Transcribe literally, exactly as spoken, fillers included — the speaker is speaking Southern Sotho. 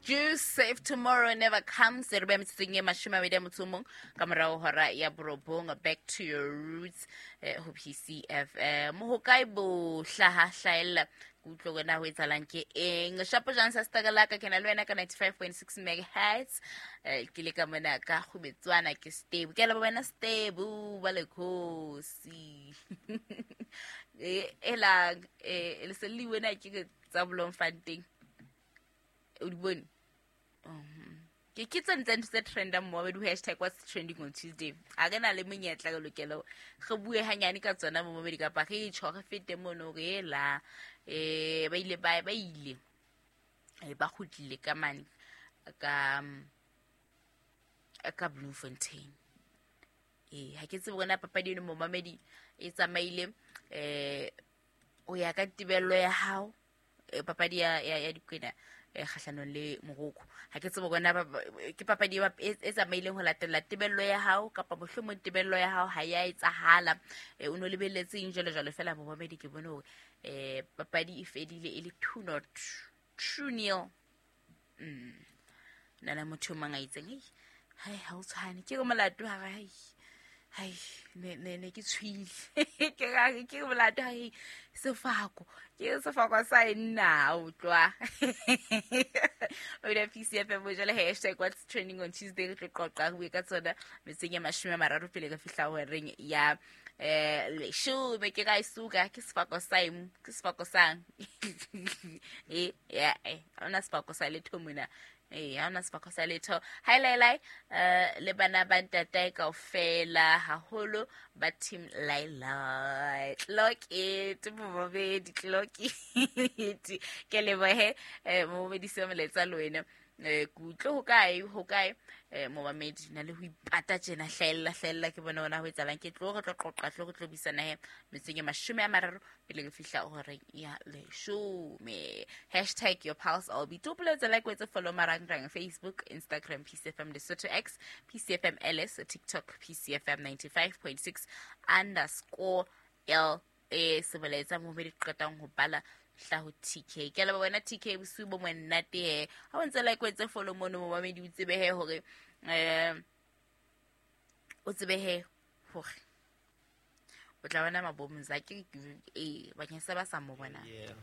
Juice, If Tomorrow Never Comes. Re beha metsotsong e mashome a mabedi a motso o mong ka morao hora ya borobong. Back to your roots, eh, ho P C F M. Ho kae bo hlaha hlahella, ke utlwe hore na ho etsahalang ke eng. Shapo jang sa stakalaka, ke na le wena ka ninety-five point six megahertz. Eh, ke le ka mona ka kgubetswana, ke Stable. Ke a leboha wena Stable ba lekhosi. Eh, elang eh le se le wena ke tsa Bloemfontein, o di bone? Ke ke tsone tsa ntho tse trendang mo di hashtag what's trending on Tuesday. A re na le monyetla, re lokela re bue hanyane ka tsona mo mobedi, kapa re tjho re fete mono re ela eh ba ile ba ba ile eh, ba kgutlile ka mane ka ka Bloemfontein. Ee, ha ke tsebe hore na papadi eno, momamedi, e tsamaile eh o ya ka tebello ya hao. eh, papadi ya ya, ya Dikwena eh, kgahlanong le Morocco, ha ke tsebe hore na ba- ba- ke papadi e bap- e e tsamaileng ho latela tebello ya hao, kapa mohlomong tebello ya hao ha ya etsahala, eh, o no lebelletseng jwalo jwalo. Fela momamedi, ke bone hore eh papadi e fedile e le two not two nil. mm na le motho o mang a itseng, "Ei, hai, ha o tshwane." Ke re molato ha re hai hai ne ne ne ke tshwile, ke ra ke re molato hai sefako, ke re sefako sa e nna utlwa o ile P C F M jwale. Hashtag what's trending on Tuesday, re tlo qoqa, re bue ka tsona metseng ya mashome a mararo pele re fihla horeng ya eh leshome. Ke ra isuka ke sefako sa eng, ke sefako sang e ya eh ha ona sefako sa letho mona. Ee, ha ona sefako sa letho. Hai lai lai, eh le bana ba ntatae kaofela, haholo ba team Lailai. Clock it, momamedi, clock it. Ke lebohe eh momamedi se moletsa le wena. eh ke utlwe ho kae, ho kae, eh momamedi, na le ho ipata tjena, hlahella hlahella, ke bone hona ho etsahalang. Ke tlo re tlo qoqa, tlo re tlo buisana he metseng e mashome a mararo pele re fihla horeng ya leshome. Hashtag your pulse albi topoletse, like, wetse follow marangrang: Facebook, Instagram P C F M Lesotho, X P C F M L S, TikTok P C F M ninety-five point six underscore L E. Sebolaetsa momedi qetang ho bala hlaho T K. Ke a leboha wena T K, bosiu bo monate he. Ha o ntse like, wetse follow mono, momamedi, o tsebe he hore um o tsebe he hore o tla bona mabomza ke ee bakeng sa ba sa mo bonang. Yeah.